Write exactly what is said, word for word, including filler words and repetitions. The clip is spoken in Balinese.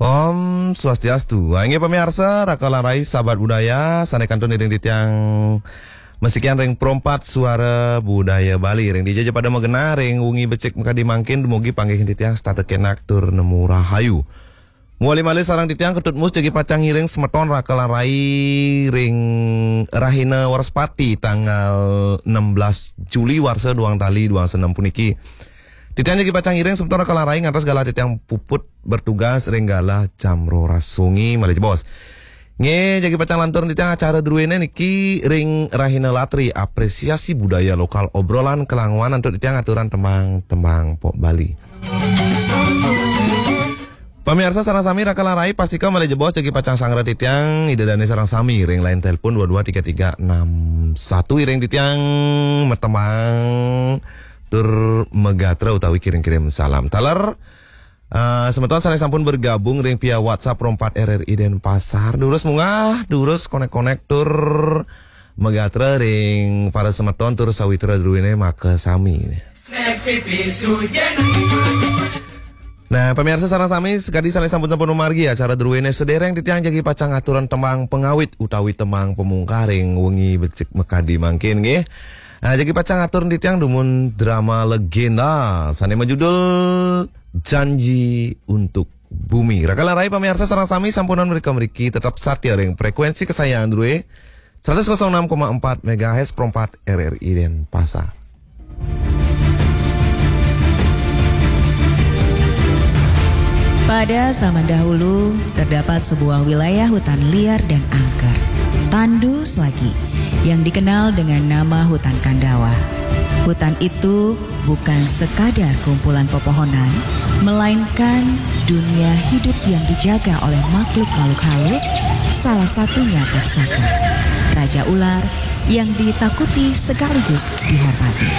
Om Swastiastu. Inggih pamiarsa, raka lan rai sahabat budaya, sané kantun iring titiang masikian ring Pro empat Suara Budaya Bali. Ring dija ja pada magenah ring wengi becik makadi mangkin, dumugi panggihin titiang setata kenak tur nemu rahayu. Mawali malih sareng titiang Ketut Mus jagi pacang ngiring semeton raka lan rai ring rahina Wrespati tanggal enam belas Juli warsa duang tali duang senem puniki. Titiang jagi pacang ngiring semeton raka lan rai ngantos galah titiang puput bertugas ring galah jam roras wengi malih jebos. Nggih, jagi pacang lantur titiang acara druéné niki ring rahina Latri, apresiasi budaya lokal, obrolan kelanguan antuk titiang aturan tembang-tembang pop Bali. Pamiarsa sareng sami raka lan rai, pastika malih jebos jagi pacang sangra titiang Ida Dané sareng sami ring line telepon dua dua tiga tiga enam satu, iring titiang matembang tur magatra utawi kirim-kirim salam. Taler, eh, semeton sané sampun bergabung ring via WhatsApp Pro empat R R I Denpasar, durus munggah, durus konek-konek tur magatra ring para semeton tur sawitra druéné makasami. Nah, pamiarsa sareng sami, sakadi sané sampun-sampun mamargi acara druéné sadéréng titiang jagi pacang aturan tembang pangawit utawi tembang pamungkah ring wengi becik makadi mangkin nggih. Nah, jagi pacang atur titiang dumun drama legenda sané majudul Janji untuk Bumi. Raka lan rai pamiarsa sareng sami sampunang mrika mriki tetep satia ring frekuensi kesayangan drué, seratus kosong enam koma empat megahertz Pro empat R R I Denpasar. Pada zaman dahulu, terdapat sebuah wilayah hutan liar dan angker. Tandu Selagi, yang dikenal dengan nama hutan Kandawa. Hutan itu bukan sekadar kumpulan pepohonan, melainkan dunia hidup yang dijaga oleh makhluk-makhluk halus, salah satunya raksasa. Raja ular yang ditakuti sekaligus dihormati.